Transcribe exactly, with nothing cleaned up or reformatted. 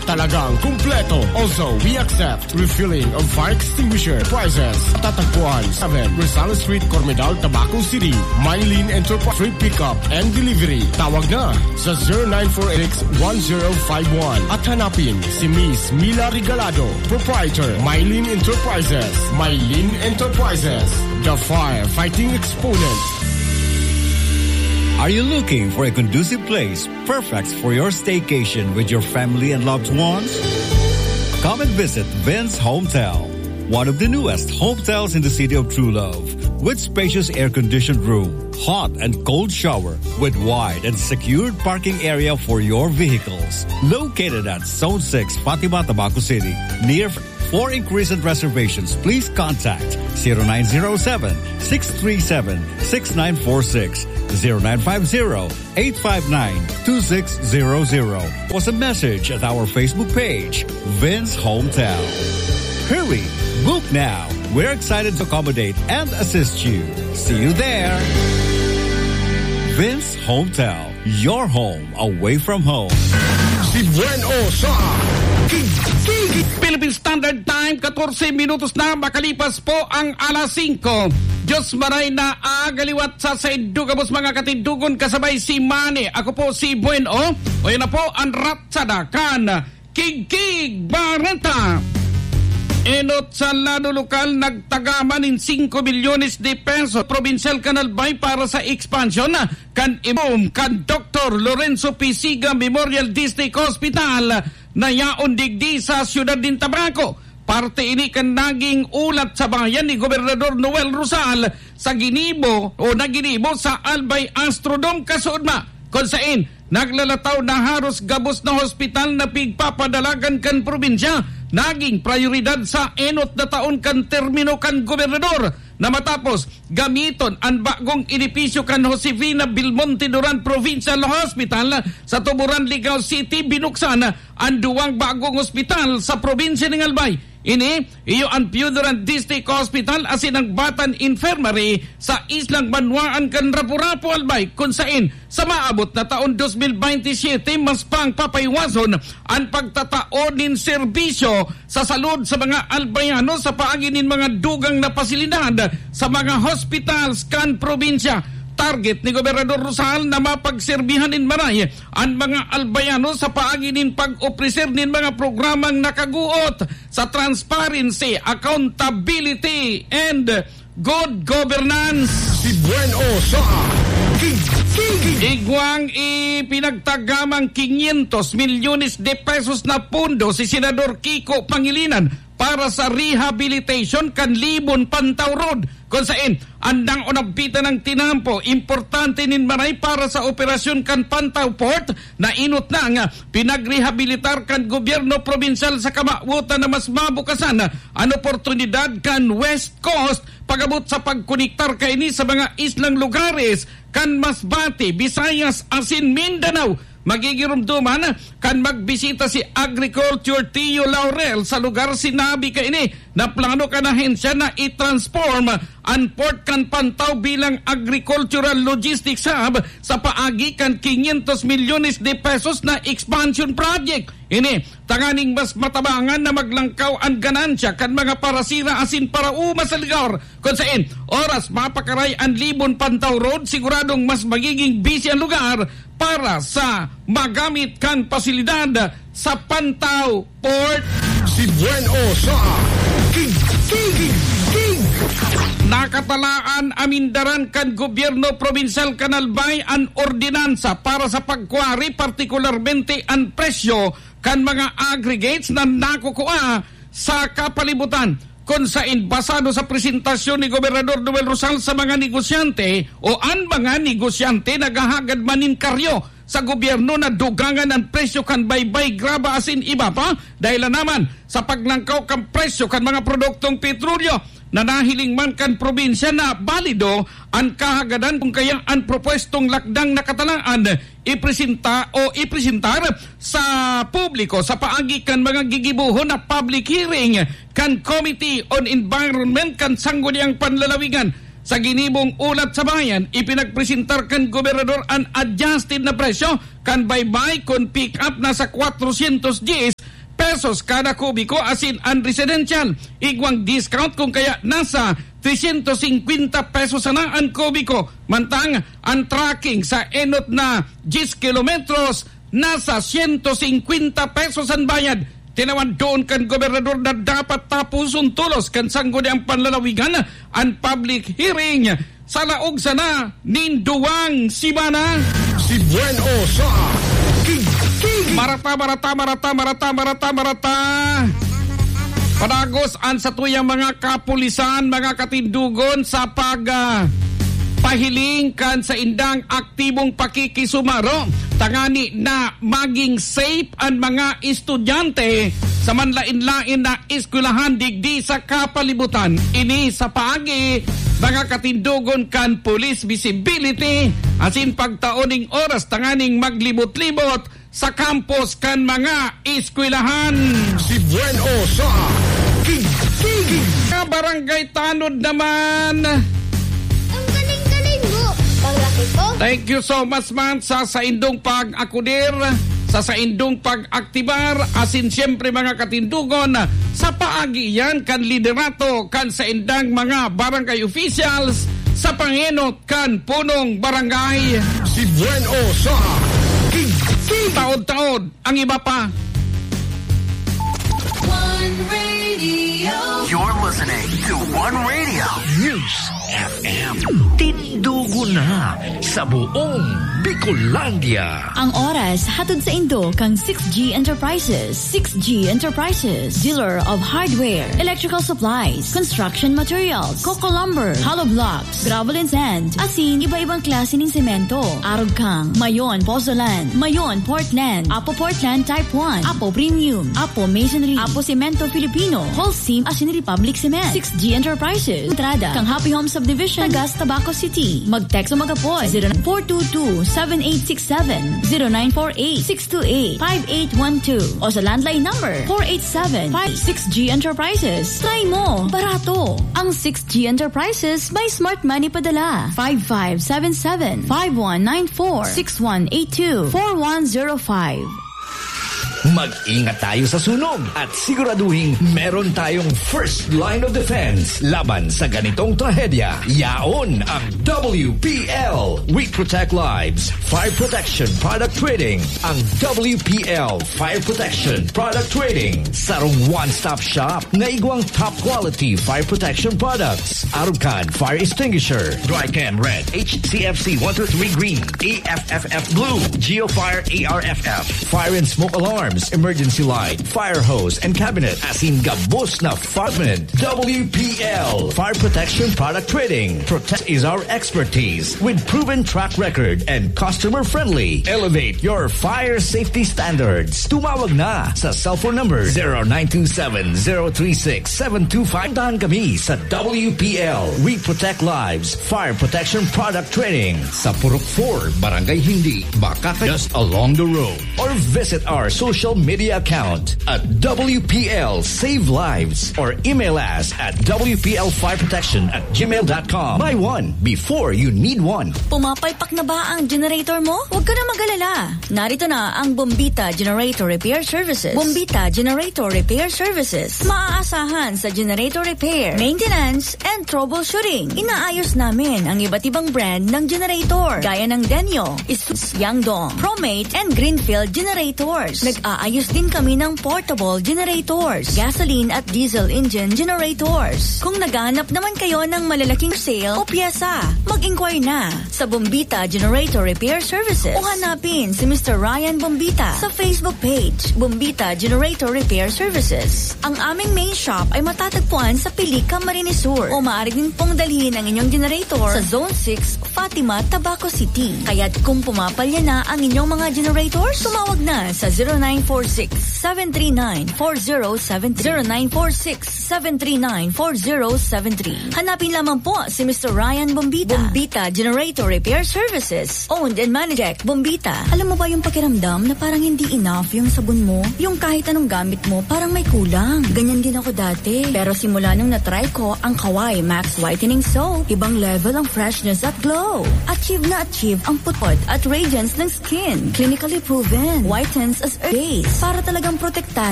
Talagang kumpleto. Also, we accept refilling of fire extinguisher. Prices, tatagpuan, seven Rosales Street, Cormedal, Tabaco City. Mylene Enterprise, free pickup and delivery. Tawag na sa zero nine four eight six one zero five one at hanapin si Miss Mila Regalado, proprietor, Mylene Enterprises. Mylene Enterprises, the firefighting exponent. Are you looking for a conducive place perfect for your staycation with your family and loved ones? Come and visit Vince Hotel, one of the newest hotels in the city of True Love, with spacious air-conditioned room, hot and cold shower, with wide and secured parking area for your vehicles. Located at Zone six, Fatima, Tabaco City, near. For inquiries and reservations, please contact zero nine zero seven, six three seven, six nine four six, zero nine five zero, eight five nine, two six zero zero, or send message at our Facebook page, Vince Hotel. Hurry! Book now! We're excited to accommodate and assist you. See you there! Vince Hotel, your home away from home. Si Buen O sa Kigkig. Philippine Standard Time, katorse minutos na makalipas po ang alas singko. Diyos maray na aga liwat sa saindo gabos mga katindogon kasabay si Manny. Ako po si Buen O. O yan na po ang ratsada kan Kigkig Bareta. Enot sa lado lokal nagtagaman nin singko milyones de pesos probinsyal kan Albay para sa expansion kan ibom kan Doktor Lorenzo Pisiga Memorial District Hospital na yaon digdi sa siyudad nin Tabaco. Parte ini kan naging ulat sa bayan ni Gobernador Noel Rosal sa ginibo o na ginibo sa Albay Astrodome kasuodma, kun saen naglalataw na haros gabos na hospital na pigpapadalagan kan probinsya naging prayoridad sa enot na taon kan termino kan gobernador na matapos gamiton an bagong edipisyo kan Josefina Belmonte Duran Provincial Hospital sa Tuburan, Ligao City. Binuksan an duwang bagong ospital sa probinsya nin Albay. Ini iyo an Pio Duran District Hospital asin ang Batan Infirmary sa Islang Banwaan kan Rapu-Rapu, Albay, kun saen sa maabot na taon dos mil bente siyete mas pang papaiwason an pagtatao nin serbisyo sa salud sa mga Albayano sa paagi nin mga dugang na pasilidad sa mga hospitals kan probinsya. Target ni Gobernador Rosal na mapagserbihan nin maray an mga Albayano sa paagi nin pag-opreser nin mga programang nakaguot sa transparency, accountability, and good governance. Si Buen O sa Kigkig. Igwang ipinagtagamang quinientos milyones de pesos na pondo si Senador Kiko Pangilinan para sa rehabilitation kan Libon Pantaw Road, kun saen an naunabpitan nang tinampo importante nin maray para sa operasyon kan Pantaw Port na enot na nga pinagrehabilitar kan gobyerno probinsal sa kamawotan na mas mabukasan an oportunidad kan West Coast pag-abot sa pagkonektar kaini sa mga islang lugares kan Masbate, Visayas asin Mindanao. Magigiromdoman kan magbisita si Agriculture Tio Laurel sa lugar. Sinabi kaini na plano kan ahensya na i-transform an port kan Pantaw bilang agricultural logistics hub sa paagi kan quinientos milyones de pesos na expansion project. Ini tanganing mas matabangan na maglangkaw an ganansya kan mga parasira asin parauma sa lugar. Kun saen, oras mapakaray an Libon Pantaw Road, siguradong mas magiging busy an lugar para sa magamit kan pasilidad sa Pantaw Port. Si Buen O sa Kigkig. Nakatalaan amindaran kan gobyerno probinsal kan Albay an ordinansa para sa pagkwari, partikularmente an presyo kan mga aggregates na nakukua sa kapalibutan. Kun saen, basado sa presentasyon ni Gobernador Noel Rosal sa mga negosyante o an mga negosyante naghahagad man nin karyo sa gobyerno na dugangan an presyo kan baybay, graba asin iba pa, dahelan naman sa paglangkaw kan presyo kan mga produktong petrolyo na nahiling man kan probinsya na balido an kahagadan kun kaya an propwestong lakdang nakatalaan ipresenta o ipresentar sa publiko sa paagi kan mga gigibohon na public hearing kan Committee on Environment kan Sangguniang Panlalawigan. Sa ginibong ulat sa bayan, ipinagpresentar kan gobernador an adjusted na presyo kan baybay kun pick-up na sa kwatrosyentos dyes pesos kada kubiko, asin an residential, igwang discount, kung kaya nasa trescientos cincuenta pesos sana an kubiko. Mantang an trucking sa enot na diyes kilometros, nasa siyento singkwenta pesos an bayad. Tinawan doon kan gobernador na dapat tapuson tolos kan sangguniang panlalawigan an public hearing sa laog sana nin duwang semana. Si Buen O sa Kig-, Kig-, Marata, marata, marata, marata, marata, marata. Padagos an satuyang mga kapulisan, mga katindogon, sa pag, ah, pahiling kan saindang aktibong pakikisumaro, tangani na maging safe an mga estudyante sa manlain-lain na eskwelahan digdi sa kapalibutan. Ini sa paagi, mga katindogon, kan police visibility asin pagtao ning oras tanganing maglibot-libot sa campus kan mga eskwelahan. Si Buen O sa Kig-, Kig-, Mga barangay tanod naman. Ang galing-galing mo. Paglaki ko. Thank you so much, man, sa saindong pag-akudir, sa saindong pag-aktibar, asin siyempre, mga katindogon, sa paagi yan kan liderato kan saindang mga barangay officials sa pangenot kan punong barangay. Si Buen O sa Kig-, Kig-, Taod-taod ang iba pa. One Radio. You're listening to One Radio News F M. Tindugo na sa buong Bicolandia. Ang oras hatod saindo kan six G Enterprises. Six G Enterprises, dealer of hardware, electrical supplies, construction materials, coco lumber, hollow blocks, gravel and sand, asin iba-ibang klase nin semento. Arog kang Mayon Pozzolan, Mayon Portland, Apo Portland Type one, Apo Premium, Apo Masonry, Apo Semento Filipino, Holcim asin Republic Cement. Six G Enterprises, entrada kang Happy Home Subdivision, Tagas, Tabaco City. Mag-text o mag-apod, zero nine four two two, seven eight six seven, zero nine four eight, six two eight, five eight one two, o sa landline number four eight seven five. Six G Enterprises. Try mo! Barato! Ang Six G Enterprises may smart money padala. Five five seven seven, five one nine four, six one eight two, four one zero five. Mag-ingat tayo sa sunog at siguraduhing meron tayong first line of defense laban sa ganitong trahedya. Yaon ang W P L. We protect lives. Fire Protection Product Trading. Ang W P L Fire Protection Product Trading. Sarong one-stop shop na igwang top quality fire protection products. Arog kan fire extinguisher, dry chem red, H C F C one two three green, A F F F blue, Geofire A R F F, fire and smoke alarms, emergency light, fire hose and cabinet, asin gabos na fire department. W P L Fire Protection Product Trading. Protect is our expertise with proven track record and customer friendly. Elevate your fire safety standards. Tumawag na sa cellphone number zero nine two seven, zero three six, seven two five. Puntahan kami sa W P L. We protect lives. Fire Protection Product Trading sa Purok four, Barangay Hindi, Bacacay, just along the road. Or visit our social media account at W P L Save Lives or email us at W P L Fire Protection at gmail dot com. Buy one before you need one. Pumapalpak na ba ang generator mo? Huwag ka na mag-alala. Narito na ang Bombita Generator Repair Services. Bombita Generator Repair Services. Maaasahan sa generator repair, maintenance, and troubleshooting. Inaayos namin ang iba't ibang brand ng generator, gaya ng Denyo, Isus, Yangdong, Promate, and Greenfield generators. Nag-aayos din kami ng portable generators, gasoline at diesel engine generators. Kung naghahanap naman kayo ng malalaking sale o pyesa, mag-inquire na sa Bombita Generator Repair Services o hanapin si Mister Ryan Bombita sa Facebook page, Bombita Generator Repair Services. Ang aming main shop ay matatagpuan sa Pilica, Marinesur, o maaari din pong dalhin ang inyong generator sa Zone six, Fatima, Tabaco City. Kaya't kung pumapalya na ang inyong mga generator, tumawag na sa zero nine four six, seven three nine, four zero seven three. Zero nine four six, seven three nine, four zero seven three. Hanapin lamang po si Mister Ryan Bombita. Bombita Generator Repair Services. Owned and managed by Bombita. Alam mo ba yung pakiramdam na parang hindi enough yung sabon mo? Yung kahit anong gamit mo, parang may kulang. Ganyan din ako dati. Pero simula nung na-try ko ang Kawai Max Whitening Soap, ibang level ang freshness at glow. Achieve na achieve ang putput at radiance ng skin. Clinically proven. Whitens as early days. Para talagang protektado